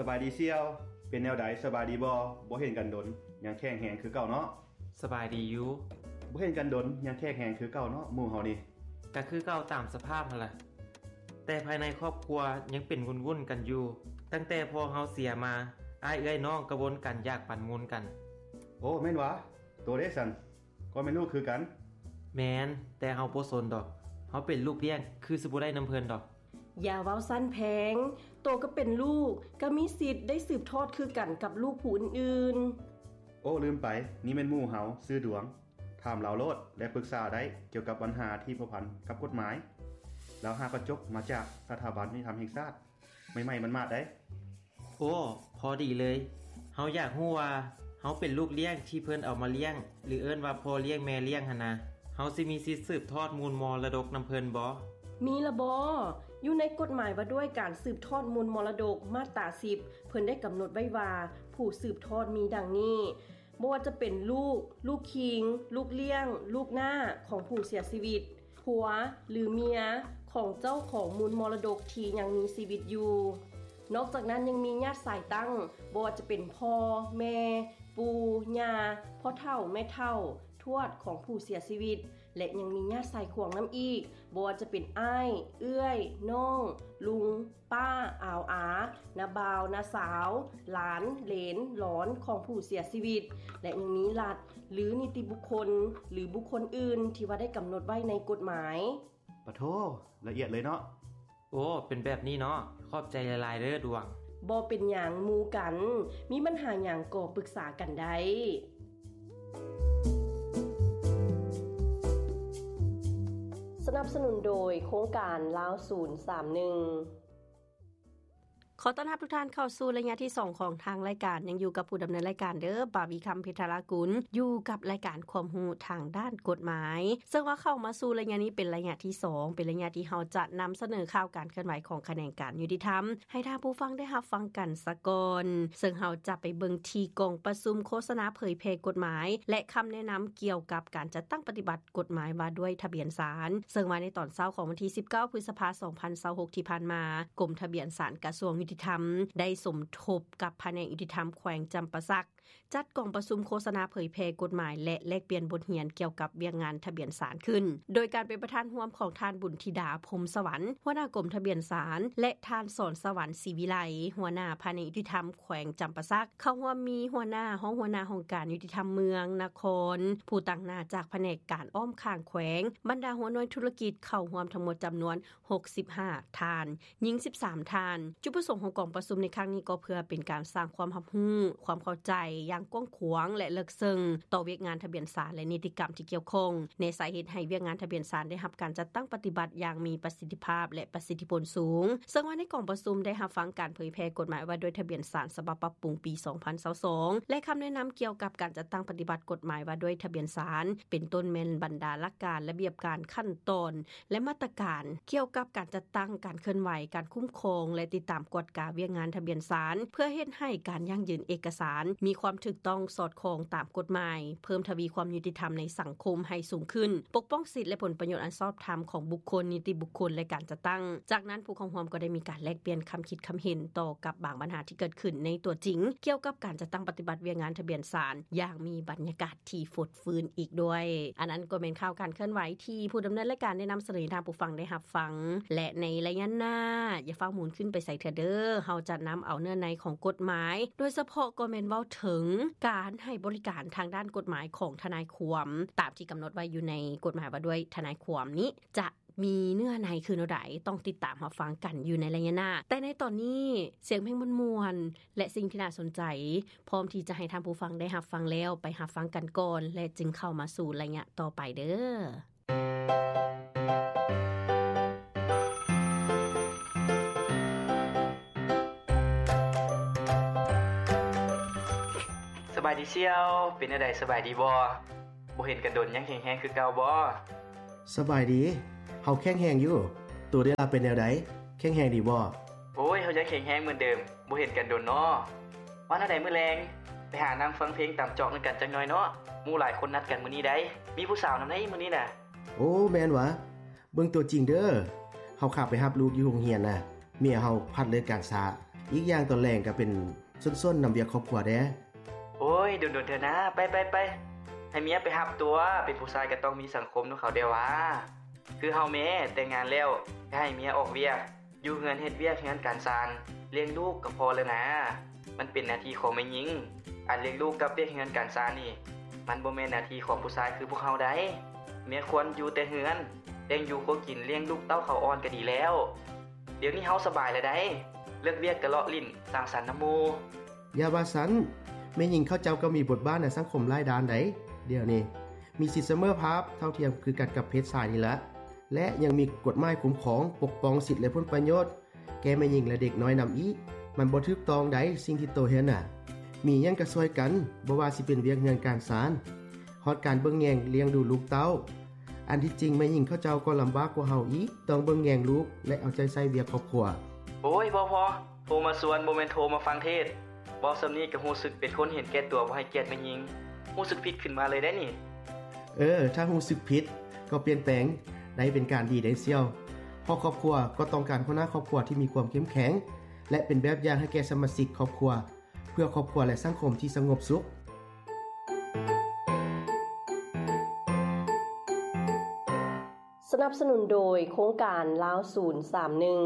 ສະບາຍດີສ່ຽວ, ເປັນແນວໃດ ສະບາຍດີບໍ່? ບໍ່ເຫັນກັນດົນ ຍັງແຂງແຮງຄືເກົ່າເນາະ. ສະບາຍດີຢູ່. ບໍ່ເຫັນກັນດົນ ຍັງແຂງແຮງຄືເກົ່າເນາະ ໝູ່ເຮົານີ້. ກະຄືເກົ່າຕາມສະພາບຫັ້ນລະ. ແຕ່ພາຍໃນຄອບຄົວຍັງເປັນວຸ່ນໆກັນຢູ່. ຕັ້ງແຕ່ພໍ່ເຮົາເສຍມາ, ອ້າຍເອື້ອຍນ້ອງກະວົນກັນຢາກປັນມູນກັນ. ໂອ້ ແມ່ນຫວາ? ໂຕເດ້ຊັ້ນ? ກໍແມ່ນລູກຄືກັນ. ແມ່ນ, ແຕ່ເຮົາບໍ່ສົນດອກ. ເຮົາເປັນລູກລ້ຽງ ຄືຊິບໍ່ໄດ້ນຳເພິ່ນດອກ. ຢ່າເວົ້າຊັ້ນແພງ, ໂຕກໍເປັນລູກ, ກໍມີສິດໄດ້ສືບທອດຄືກັນກັບລູກຜູ້ອື່ນໆ. ໂອ້ ລືມໄປ, ນີ້ແມ່ນໝູ່ເຮົາ, ຊື່ດວງ. ຖາມລາວໂລດ ແລະ ປຶກສາໄດ້ກ່ຽວກັບບັນຫາທີ່ພົວພັນກັບກົດໝາຍ. ລາວຫາກໍຈົບມາຈາກສະຖາບັນຍຸຕິທຳແຫ່ງຊາດ ໃໝ່ໆໝາດໆໄດ໋. ໂອ້ ພໍດີເລີຍ. ເຮົາຢາກຮູ້ວ່າ ເຮົາເປັນລູກລ້ຽງທີ່ເພິ່ນເອົາມາລ້ຽງ ຫຼື ເອີ້ນວ່າພໍ່ລ້ຽງແມ່ລ້ຽງຫັ້ນນະ, ເຮົາຊິມີສິດສືບທອດມູນມໍລະດົກນຳເພິ່ນບໍ່? ມີລະບໍ? ຢູ່ໃນກົດໝາຍວ່າດ້ວຍການສືບທອດມູນມໍລະດົກ ມາດຕາສິບ ເພິ່ນໄດ້ກຳນົດໄວ້ວ່າ ຜູ້ສືບທອດມີດັ່ງນີ້. ບໍ່ວ່າຈະເປັນລູກ, ລູກຄີງ, ລູກລ້ຽງ, ລູກນ້າຂອງຜູ້ເສຍຊີວິດ, ຜົວ ຫຼື ເມຍຂອງເຈົ້າຂອງມູນມໍລະດົກທີ່ຍັງມີຊີວິດຢູ່. ນອກຈາກນັ້ນຍັງມີຍາດສາຍຕັ້ງ, ບໍ່ວ່າຈະເປັນພໍ່, ແມ່, ປູ່, ຍ່າ, ພໍ່ເຖົ້າ, ແມ່ເຖົ້າ, ທວດຂອງຜູ້ເສຍຊີວິດ ແລະ ຍັງມີຍາດສາຍຂວາງນຳອີກ, ບໍ່ວ່າຈະເປັນອ້າຍ, ເອື້ອຍ, ນ້ອງ, ລຸງ, ປ້າ, ອາວອາ, ນ້າບ່າວ, ນ້າສາວ, ຫຼານ, ເຫຼນ, ຫຼອນຂອງຜູ້ເສຍຊີວິດ ແລະ ຍັງມີລັດ ຫຼື ນິຕິບຸກຄົນ ຫຼື ບຸກຄົນອື່ນທີ່ວ່າໄດ້ກຳນົດໄວ້ໃນກົດໝາຍ. ປະໂທ, ລະອຽດເລີຍເນາະ. ໂອ້ ເປັນແບບນີ້ເນາະ. ຂອບໃຈຫຼາຍໆເດີດວງ. ບໍ່ເປັນຫຍັງໝູ່ກັນ, ມີບັນຫາຫຍັງກໍປຶກສາກັນໄດ້. ສະໜັບສະໜູນໂດຍໂຄງການລາວສູນສາມໜຶ່ງ. ຂໍຕ້ອນຮັບທຸກທ່ານເຂົ້າສູ່ໄລຍະທີສອງຂອງທາງລາຍການ. ຍັງຢູ່ກັບຜູ້ດຳເນີນລາຍການເດີ, ບາວີຄຳ ເພັດທະລາກຸນ, ຢູ່ກັບລາຍການຄວາມຮູ້ທາງດ້ານກົດໝາຍ. ເຊິ່ງວ່າເຂົ້າມາສູ່ໄລຍະນີ້ເປັນໄລຍະທີສອງ, ເປັນໄລຍະທີ່ເຮົາຈະນຳສະເໜີຂ່າວການເຄື່ອນໄຫວຂອງຂະແໜງການຍຸຕິທຳ ໃຫ້ທ່ານຜູ້ຟັງໄດ້ຮັບຟັງກັນສາກ່ອນ. ເຊິ່ງເຮົາຈະໄປເບິ່ງທີ່ກອງປະຊຸມໂຄສະນາເຜີຍແຜ່ກົດໝາຍ ແລະ ຄຳແນະນຳກ່ຽວກັບການຈັດຕັ້ງປະຕິບັດ ກົດໝາຍວ່າດ້ວຍທະບຽນສານ, ເຊິ່ງວ່າໃນຕອນເຊົ້າຂອງວັນທີສິບເກົ້າ ພຶດສະພາ ສອງພັນຊາວຫົກ ທີ່ຜ່ານມາ, ກົມທະບຽນສານກະຊວງຍຸຕິທຳ ໄດ້ສົມທົບກັບພະແນກຍຸຕິທຳແຂວງຈຳປາສັກ ຈັດກອງປະຊຸມໂຄສະນາເຜີຍແຜ່ກົດໝາຍ ແລະ ແລກປ່ຽນບົດຮຽນກ່ຽວກັບວຽກງານທະບຽນສານຂຶ້ນ, ໂດຍການເປັນປະທານຮ່ວມຂອງທ່ານ ບຸນທິດາ ພົມສະຫວັນ ຫົວໜ້າກົມທະບຽນສານ ແລະ ທ່ານ ສອນສະຫວັນ ສີວິໄລ ຫົວໜ້າພະແນກຍຸຕິທຳ ແຂວງຈຳປາສັກ. ເຂົ້າຮ່ວມມີຫົວໜ້າ, ຮອງຫົວໜ້າຫ້ອງການຍຸຕິທຳເມືອງ, ນະຄອນ, ຜູ້ຕາງໜ້າຈາກພະແນກການອ້ອມຂ້າງແຂວງ, ບັນດາຫົວໜ່ວຍທຸລະກິດເຂົ້າຮ່ວມທັງໝົດຈຳນວນຫົກສິບຫ້າທ່ານ, ຍິງສິບສາມທ່ານ. ຈຸດປະສົງຂອງກອງປະຊຸມໃນຄັ້ງນີ້ກໍເພື່ອເປັນການສ້າງຄວາມຮັບຮູ້, ຄວາມເຂົ້າໃຈຢ່າງກວ້າງຂວາງ ແລະ ເລິກເຊິ່ງຕໍ່ວຽກງານທະບຽນສານ ແລະ ນິຕິກຳທີ່ກ່ຽວຂ້ອງ ແນສາເຮັດໃຫ້ວຽກງານທະບຽນສານໄດ້ຮັບການຈັດຕັ້ງປະຕິບັດຢ່າງມີປະສິດທິພາບ ແລະ ປະສິດທິຜົນສູງ. ເຊິ່ງວ່າໃນກອງປະຊຸມໄດ້ຮັບຟັງການເຜີຍແຜ່ກົດໝາຍວ່າດ້ວຍທະບຽນສານສະບັບປັບປຸງປີສອງພັນຊາວສອງ ແລະ ຄຳແນະນຳກ່ຽວກັບການຈັດຕັ້ງປະຕິບັດກົດໝາຍວ່າດ້ວຍທະບຽນສານ, ເປັນຕົ້ນແມ່ນບັນດາຫຼັກການ, ລະບຽບການ, ຂັ້ນຕອນ ແລະ ມາດຕະການກ່ຽວກັບການຈັດຕັ້ງ, ການເຄື່ອນໄຫວ, ການຄຸ້ມຄອງ ແລະ ຕິດຕາມກວດກາວຽກງານທະບຽນສານ ເພື່ອເຮັດໃຫ້ການຢັ້ງຢືນເອກະສານມີຄວາມຖືກຕ້ອງສອດຄ່ອງຕາມກົດໝາຍ, ເພີ່ມທະວີຄວາມຍຸຕິທຳໃນສັງຄົມໃຫ້ສູງຂຶ້ນ, ປົກປ້ອງສິດ ແລະ ຜົນປະໂຫຍດອັນຊອບທຳຂອງບຸກຄົນ, ນິຕິບຸກຄົນ ແລະ ການຈັດຕັ້ງ. ຈາກນັ້ນ, ຜູ້ເຂົ້າຮ່ວມກໍໄດ້ມີການແລກປ່ຽນຄຳຄິດຄຳເຫັນຕໍ່ກັບບາງບັນຫາທີ່ເກີດຂຶ້ນໃນຕົວຈິງ ກ່ຽວກັບການຈັດຕັ້ງປະຕິບັດວຽກງານທະບຽນສານ ຢ່າງມີບັນຍາກາດທີ່ຟົດຟື້ນອີກດ້ວຍ. ອັນນັ້ນກໍແມ່ນຂ່າວການເຄື່ອນໄຫວທີ່ຜູ້ດຳເນີນລາຍການໄດ້ນຳສະເໜີໃຫ້ທ່ານຜູ້ຟັງໄດ້ຮັບຟັງ ແລະ ໃນໄລຍະໜ້າ ຢ່າຟ້າວໝູນຂຶ້ນໄປໃສເທື່ອເດີ້. ເຮົາຈະນຳເອົາເນື້ອໃນຂອງກົດໝາຍ, ໂດຍສະເພາະກໍແມ່ນເວົ້າເຖິງການໃຫ້ບໍລິການທາງດ້ານກົດໝາຍຂອງທະນາຍຄວາມ ຕາມທີ່ກຳນົດໄວ້ຢູ່ໃນກົດໝາຍວ່າດ້ວຍທະນາຍຄວາມນີ້ ຈະມີເນື້ອໃນຄືແນວໃດ ຕ້ອງຕິດຕາມຮັບຟັງກັນຢູ່ໃນໄລຍະໜ້າ. ແຕ່ໃນຕອນນີ້ ສຽງເພງມ່ວນໆ ແລະ ສິ່ງທີ່ໜ້າສົນໃຈ ພ້ອມທີ່ຈະໃຫ້ທ່ານຜູ້ຟັງໄດ້ຮັບຟັງແລ້ວ, ໄປຮັບຟັງກັນກ່ອນ ແລະ ຈຶ່ງເຂົ້າມາສູ່ໄລຍະຕໍ່ໄປເດີ້. ສະບາຍດີສ່ຽວ, ເປັນແນວໃດ ສະບາຍດີບໍ່? ບໍ່ເຫັນກັນດົນ ຍັງແຂງແຮງຄືເກົ່າບໍ່? ສະບາຍດີ, ເຮົາແຂງແຮງຢູ່. ໂຕເດລະເປັນແນວໃດ? ແຂງແຮງດີບໍ່? ໂອ້ຍ, ເຮົາຍັງແຂງແຮງເໝືອນເດີມ, ບໍ່ເຫັນກັນດົນເນາະ. ວ່າແນວໃດມື້ແລງ ໄປຫານັ່ງຟັງເພງຕາມຈອກນຳກັນຈັກໜ່ອຍເນາະ, ໝູ່ຫຼາຍຄົນນັດກັນມື້ນີ້ໃດ໋. ມີຜູ້ສາວນຳໃດ໋ມື້ນີ້ນະ? ໂອ້ ແມ່ນຫວາ? ເບິ່ງຕົວຈິງເດີ້. ເຮົາຂ້າໄປຮັບລູກຢູ່ໂຮງຮຽນນະ, ເມຍເຮົາພັດເລີກກາງຊາ. ອີກຢ່າງຕອນແລງກໍເປັນສ່ວນໆນຳວຽກຄອບຄົວແດ່. ໂອ້ຍ ດົນໆເທື່ອນາ ໄປໆໆ ໃຫ້ເມຍໄປຮັບຕົວະ. ເປັນຜູ້ຊາຍກໍຕ້ອງມີສັງຄົມນຳເຂົາແດ່ຫວາ. ຄືເຮົາແມ້ແຕ່ງງານແລ້ວ ກໍໃຫ້ເມຍອອກວຽກ ຢູ່ເຮືອນເຮັດວຽກເຮືອນການຊານ ລ້ຽງລູກກໍພໍແລ້ວນາ. ມັນເປັນໜ້າທີ່ຂອງແມ່ຍິງ. ອັນລ້ຽງລູກກັບວຽກເຮືອນການຊານນີ້ ມັນບໍ່ແມ່ນໜ້າທີ່ຂອງຜູ້ຊາຍຄືພວກເຮົາໃດ໋. ເມຍຄວນຢູ່ແຕ່ເຮືອນ ລ້ຽງຢູ່ຄົວກິນ ລ້ຽງລູກເຕົ້າເຂົາອ່ອນກໍດີແລ້ວ. ດຽວນີ້ເຮົາສະບາຍແລ້ວໃດ໋ ເລີກວຽກກໍເລາະຫຼິ້ນສັງສັນນຳໝູ່. ຢ່າວ່າຊັ້ນ, ແມ່ຍິງເຂົາເຈົ້າກໍມີບົດບາດໃນສັງຄົມຫຼາຍດ້ານໃດ໋. ດຽວນີ້ມີສິດສະເໝີພາບເທົ່າທຽມຄືກັນກັບເພດຊາຍນີ້ລະ ແລະ ຍັງມີກົດໝາຍຄຸ້ມຄອງປົກປ້ອງສິດ ແລະ ຜົນປະໂຫຍດແກ່ແມ່ຍິງ ແລະ ເດັກນ້ອຍນຳອີກ. ມັນບໍ່ຖືກຕ້ອງໃດ໋ ສິ່ງທີ່ໂຕເຮັດນະ. ມີຫຍັງກໍຊ່ວຍກັນ, ບໍ່ວ່າຊິເປັນວຽກເຮືອນການຊານ ຮອດການເບິ່ງແຍງລ້ຽງດູລູກເຕົ້າ. ອັນທີ່ຈິງແມ່ຍິງເຂົາເຈົ້າກໍລຳບາກກວ່າເຮົາອີກ, ຕ້ອງເບິ່ງແຍງລູກ ແລະ ເອົາໃຈໃສ່ວຽກຄອບຄົວ. ໂອ້ຍ ພໍໆ ໂທມາຊວນ ບໍ່ແມ່ນໂທມາຟັງເທດ. ເວົ້າສ່ຳນີ້ກໍຮູ້ສຶກເປັນຄົນເຫັນແກ່ຕົວ ບໍ່ໃຫ້ກຽດແມ່ຍິງ. ຮູ້ສຶກຜິດຂຶ້ນມາເລີຍເດ້ນີ້. ເອີ ຖ້າຮູ້ສຶກຜິດກໍປ່ຽນແປງໄດ້ເປັນການດີໄດ້ສ່ຽວ, ເພາະຄອບຄົວກໍຕ້ອງການຫົວໜ້າຄອບຄົວທີ່ມີຄວາມເຂັ້ມແຂງ ແລະ ເປັນແບບຢ່າງໃຫ້ແກ່ສະມາຊິກຄອບຄົວ ເພື່ອຄອບຄົວ ແລະ ສັງຄົມທີ່ສະຫງົບສຸກ. ສະໜັບສະໜູນໂດຍໂຄງການລາວສູນສາມໜຶ່ງ.